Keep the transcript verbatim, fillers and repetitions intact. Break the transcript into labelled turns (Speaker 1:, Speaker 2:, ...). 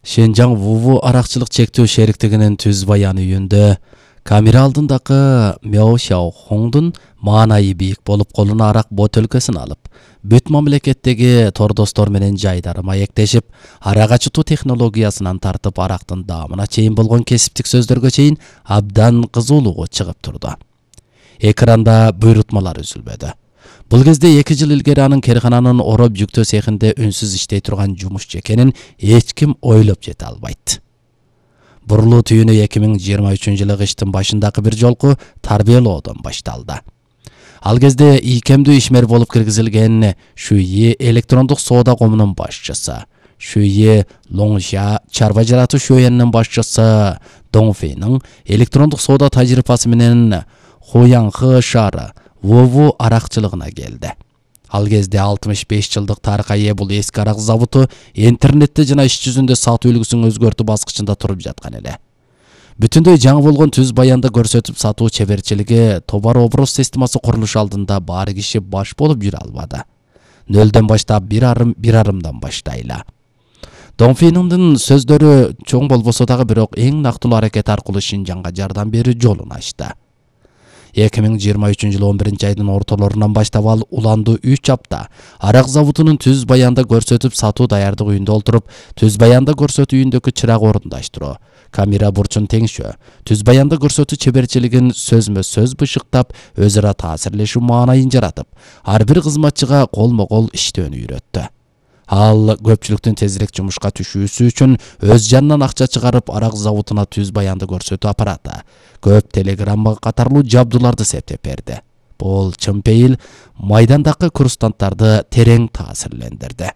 Speaker 1: Шенжаң Вуву аракчылык чектөө шериктигинин түз баян үйүндө камера алдындагы Мяо Шаохоңдун маанайы бийик болуп колуна арак бөтөлкөсүн алып, бүт мамлекеттеги тордостор менен жайдары маектешип, арак ачытуу технологиясынан тартып арактын даамына чейин болгон кесиптик сөздөргө чейин абдан кызуулугу чыгып турду. Экранда буйрутмалар үзүлбөдү. Бул кезде эки жыл илгери анын керкананын ороп жүктөө цехинде үнсүз иштей турган жумушчу экенин эч ким ойлоп жете албайт. Бурулуу түйүнү эки миң жыйырма үчүнчү жылы кыштын башындагы бир жолку тарбиялоодон башталды. Ал кезде ийкемдүү ишмер болуп киргизилген Шуйи электрондук соода комунун башчысы, Шуйи Лоңжа чарба жаратуу шөйөнүнүн башчысы Доңфейнин электрондук соода тажрыйбасы менен Хуяңхы шаары Вуву аракчылыгына келди. Ал кезде алтымыш беш жылдык тарыхка ээ бул эски арак заводу интернетте жана иш жүзүндө сатуу үлгүсүн өзгөртүү баскычында туруп жаткан эле. Бүтүндөй жаңы болгон түз баянды көрсөтүп сатуу чеберчилиги товар образ системасы курулуш алдында баары киши баш болуп жүрө албады. Нөлдөн баштап бир арым бир арымдан баштайлы. Доңфейниңдин сөздөрү чоң болбосо дагы бирок эң нактылуу аракет аркылуу Шинжаңга жардам берүү жолун ачты. эки миң жыйырма үчүнчү жылы он биринчи айдын ортолорунан баштап ал уландуу үч апта арак заводунун түз баянда көрсөтүп сатуу даярдык үйүндө олтуруп, түз баянда көрсөтүү үйүндөгү чырак орундаштыруу, камера бурчун теңшөө, түз баянда көрсөтүү чеберчилигин сөзмө сөз бышыктап, өз ара таасирлешүү маанайын жаратып, ар бир кызматчыга колмо-кол иштөөнү үйрөттү. Ал көпчүлүктүн тезирээк жумушка түшүүсү үчүн өз жанынан акча чыгарып арак заводуна түз баянды көрсөтүү аппараты, көп телеграмма катарлуу жабдууларды септеп берди. Бул чын пейил майдандагы курсанттарды терең таасирлендирди.